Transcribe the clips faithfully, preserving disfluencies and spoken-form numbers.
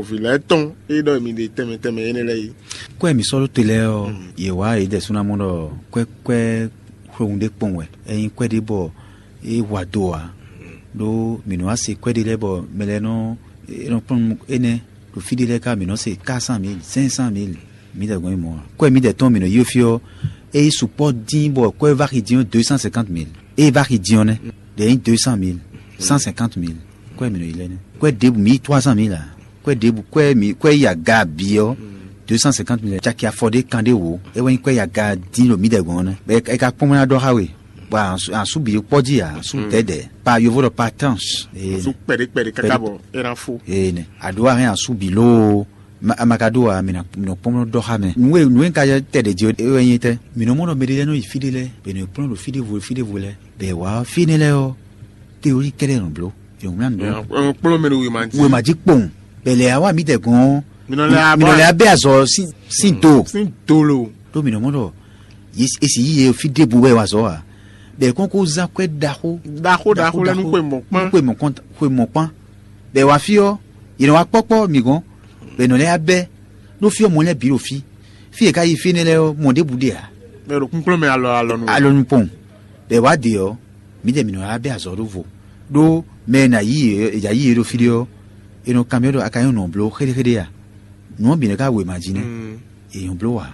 Vǐ lɛ́ɛ tɔn e ɖɔ mi ɖe tɛnmɛ tɛnmɛ énɛ́ lɛ́ɛ é. Kwɛ́ mi sɔ́ ɖó te lɛ́ɛ ɔ́, yě wá yě ɖɛ̌ sú ná mɔ ɖɔ kwɛ́ kwɛ́ xwewun ɖé kpɔn wɛ. Ényí kwɛ́ ɖé bɔ é wa do ǎ, ɖó mǐ nɔ wá se kwɛ́ ɖé lɛ́ɛ bɔ mɛ lɛ́ɛ nɔ nɔ kplɔ́n énɛ́ ɖo fí ɖé lɛ́ɛ ká mǐ nɔ se quatre cent mille, cinq cent mille. Mǐdɛɛ gbɔn yi mɔ̌ ǎ. Kwɛ́ mǐdɛɛ tɔn mǐ nɔ yi fí ɔ́, é yi sukpɔ́ dín bɔ kwɛ́ va xi dín ɔ́ deux cent cinquante mille. É va xi dín ɔ́ nɛ́, ɖě nyí deux cent mille, cent cinquante mille. Kwɛ́ mǐ nɔ yi lɛ́ɛ nɛ́. Kwɛ́ ɖěbǔ mǐ yi trois cent mille ǎ. Kwɛ́ ɖěbǔ kwɛ́ mǐ kwɛ́ yi aga bǐ ɔ́, deux cent cinquante mille caki afɔ ɖé kan ɖé wǒ. É wɛ nyí kwɛ́ yi aga dín ɖo mǐdɛɛ gbɔn ɔ́ nɛ́. Bɔ é ka kpɔ́n mɛ ná ɖɔ xá we, bɔ asú bǐ kpɔ́ jí ǎ, asú dɛ̌dɛ̌. Pa yovo ɖɔ pa tranche. Asú kpɛɖé kpɛɖé káká bɔ é ná fó. Ee nɛ. Aɖó ahɛn asú bǐ lóo. Ma- a ma ka ɖó ǎ, mǐ nɔ mǐ nɔ kpɔ́n nɔ ɖɔ xá mɛ. Nǔ e nǔ e un ka yɛ tɛ ɖě jí é wɛ nyí tɛ́. Mǐ nɔ mɔ ɖɔ mɛɖé lɛ́ɛ nɔ yi fí ɖé lɛ́ɛ, bɔ è nɔ kplɔ́n ɖo fí ɖěvo fí ɖěvo lɛ́ɛ, bɔ è wǎ fí énɛ́ lɛ́ɛ ɔ́, théorie kɛ́ɖɛ́ nɔ bló. È nɔ wlán nǔ ɖɔ Kplɔ́n mɛ ɖo wěma jí. Wěma jí kpowun, bɔ è lɛ wá mǐdɛɛ gɔ́n ɔ́, Mǐ nɔ lɛ mǐ nɔ lɛ abɛ azɔ sín sín do. Sín dolo. Ɖó mǐ nɔ mɔ ɖɔ yě- è sì yí yě fí ɖěbǔ wɛ wa azɔ̌ ǎ. Bɔ è kɔn ko zán kwɛ́ ɖaxó Ɖaxó ɖaxó lɛ́ɛ nú xwe mɔ̌kpán. Xwe mɔ̌kpán. Xwe mɔ̌kpán. Bɔ è wá fí ɔ́, yě nɔ wá kpɔ́kpɔ́ mǐ gɔ́n, bɔ è nɔ lɛ́ wá bɛ́ ɖó fí ɔ́ mɔ lɛ́ɛ bǐ ɖo fí. Fí e è ka yi fí énɛ́ lɛ́ɛ ɔ́, mɔ ɖěbǔ ɖe ǎ. Mɛ ɖo kúnklɔ́n mɛ alɔ alɔ nu. Alɔ nu pɔn. Bɔ è wá ɖe ɔ́, mǐdɛɛ mǐ nɔ wá bɛ́ azɔ̌ ɖó vo. Ɖó mɛ e nǎ yí yě è yǎ yí yě ɖo fí ɖé ɔ́, è nɔ kanbyɔ́ ɖɔ a ka nyí nɔ bló xéɖéxéɖé a? Nǔ ɔ́ bǐ nɔ ka wěma jí nɛ́. È nyɔ̌ bló ǎ.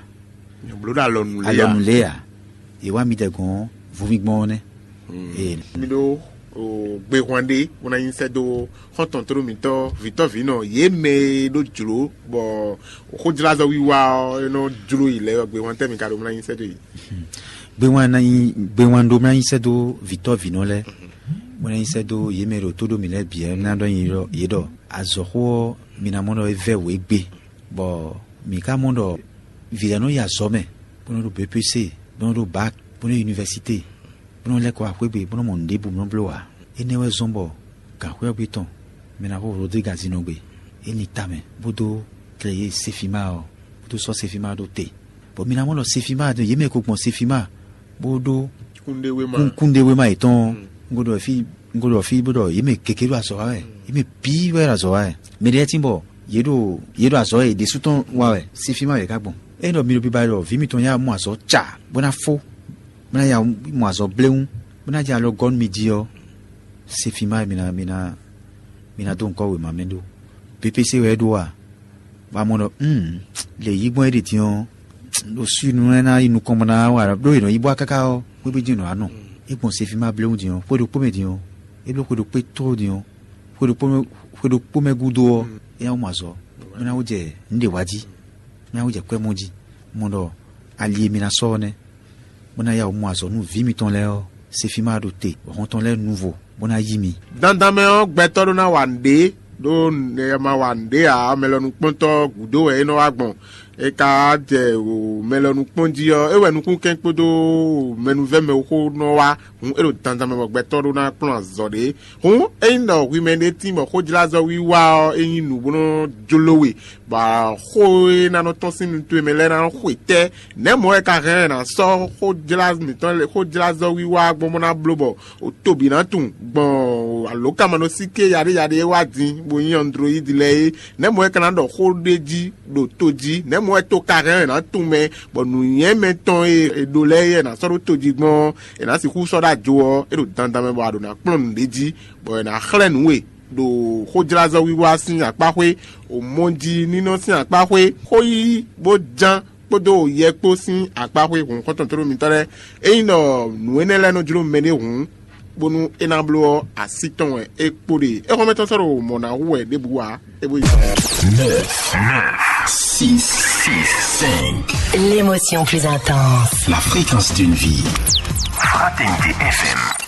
Nyɔ̌ bló ɖo alɔ nu lé Alɔ a? Nu lé a? È wá mǐdɛɛ gɔ́n vúvíngbɔn ɔ́ nɛ́. Ee. Mi ɖó o, gbehwan ɖé bó ná nyi sɛ́ dó xɔ́ntɔn tló mǐtɔn vǐtɔ́vǐnɔ yě mɛ e ɖó jlǒ bɔ xójlázɔ wiwa ɔ́ é nɔ jló yi lɛ́ɛ ɔ́, gbehwan tɛ́ mi ka ɖó bó ná nyi sɛ́ dó yi? Gbewán ná nyí gbewán ɖó ná nyí sɛ́ dó vǐtɔ́vǐnɔ lɛ́ɛ, bó ná nyí sɛ́ dó yě mɛ e ɖo tó ɖó mǐ lɛ́ɛ bǐ ɔ́ ná ɖɔ nyi ɖɔ yě ɖɔ azɔ̌xó ɔ́, mi ná mɔ ɖɔ é vɛ́ wǔ égbé, bɔ mǐ ka mɔ ɖɔ vǐ lɛ́ɛ nɔ yi azɔ̌ mɛ, bó nɔ ɖo B P C, bó nɔ ɖo bac, bó nɔ yi univɛsité, bó nɔ lɛ́ kɔ wá xwé gbe, bó nɔ mɔ nǔɖé bǔ bó nɔ bló ǎ. Énɛ́ wɛ zɔ́n bɔ gǎnxwɛ́ ɔ́ gbe tɔn mɛ ná xo Rodrigue Azinɔgbe, é lin tamɛ, bó dó tlɛ yě Sefima ɔ́, bó dó sɔ́ Sefima ɖó te. Bɔ mi ná mɔ ɖɔ Sefima ɖo yě mɛ ko gbɔn Sefima, bó ɖó Kúnɖéwéma. Kún- kúnɖéwéma yětɔn ɔ́, un ko ɖɔ fí un ko ɖɔ fí bó ɖɔ yě mɛ gěgé ɖo azɔ̌ wa wɛ, yě mɛ bǐ wɛ ɖo azɔ̌ wa wɛ. Mɛ ɖé lɛ́ɛ tín bɔ yě ɖo yě ɖo azɔ̌ yě ɖésú tɔn wa wɛ, Sefima yě ka gbɔn. Ényí ɖɔ mi ɖo biba ɖɔ vǐ mitɔn yá mɔ azɔ̌ ca bó ná fó, bó ná ya mɔ azɔ̌ bléwún, bó ná jɛ alɔ gɔ́ nú mi jí ɔ́, Sefima mi ná mi ná mi ná dó ŋkɔ́ wěma mɛ ɖó. P P C wɛ é ɖó a? Bɔ a mɔ ɖɔ, um, lě yí gbɔn é ɖe din ɔ́, ɖo sú nu lɛ́ɛ ná yi nukɔn bɔ ná wa ɖó è nɔ yi bɔ káká ɔ́, xwé bí dín nɔ wá nɔ. É gbɔn Sefima bléwún din ɔ́, xwé ɖokpó mɛ din ɔ́, é bló xwé ɖokpó tló din ɔ́, xwé ɖokpó mɛ xwé ɖokpó mɛ gúdo ɔ́, é ná wú mɔ azɔ̌, bó ná wú jɛ nǔɖé wá jí, bó ná wú jɛ kwɛ́ mɔ jí. Mɔ ɖɔ ali e mi ná sɔ́ ɔ́ nɛ́, bó ná ya wǔ mɔ azɔ̌ nú vǐ mitɔn lɛ́ɛ ɔ́, Sefima ɖo te, bɔ hɔn tɔn lɛ́ɛ nu vo, bó ná yí mi. Dandan mɛ ɔ́, gbɛtɔ́ ɖó ná wa nǔɖé, ɖó è ma wa nǔɖé ǎ, mɛ lɔ nukpɔ́ntɔ́ gǔdo wɛ é nɔ wá gbɔn. É ka jɛ o mɛ lɔ nukpɔ́n jí ɔ́, é wɛ nukúnkɛn kpódó mɛnuvɛ́ mɛxó nɔ wá. Hǔn é ɖo dandan mɛ bɔ gbɛtɔ́ ɖó ná kplɔ́n azɔ̌ ɖé. Hǔn ényí ɖɔ hwi mɛ ɖé tín bɔ xójlázɔ wiwa ɔ́ é nyí nǔ bó nɔ́ jló we, bɔ xó e ná nɔ tɔ́n sín nu towe mɛ lɛ́ɛ ná nɔ xwe tɛ́. Nɛ̌ mɔ̌ wɛ ka hɛn ná sɔ́ xójlá mǐtɔn lɛ́ɛ xójlázɔ wiwa gbɔn bó ná bló bɔ o to bǐ ná tunwun gbɔn alǒkanmaɖósíké yaɖéyaɖé e wá din bó nyí Android lɛ́ɛ é? Nɛ̌ mɔ̌ wɛ ka ná ɖɔ xó ɖé jí ɖo to jí? Nɛ̌ mɔ̌ wɛ to ka hɛn ná tunwun mɛ bɔ nǔnywɛ́ mɛtɔn e è ɖó lɛ́ɛ é è nǎ sɔ́ ɖó to jí gbɔn ɔ́, è nǎ sixú sɔ́ ɖó ajo ɔ́, é ɖo dandan mɛ bɔ a ɖǒ ná kplɔ́n nǔɖé jí, bɔ è nǎ xlɛ́ nǔ we ɖo xójlázɔ́ wiwa sín akpá xwé, omɔjí nínɔ sín akpá xwé, xó yíyí bó ján kpódó yɛ kpó sín akpá xwé hun xɔ́ntɔn tlóló mitɔn lɛ́ɛ. Ényí ɖɔ nǔ énɛ́ lɛ́ɛ nɔ jló mɛɖé hǔn, bónú é ná bló ɔ́, así tɔn wɛ é kpo ɖe. Éxɔ́mɛtɔ́ sɔ́ ɖo mɔ̌ ná hu wɛ ɖěbǔ ǎ, é bó yi zɔn. Neuf, neuf, six, six, cinq. L'émotion plus intense. La fréquence d'une vie. Fraternité F M.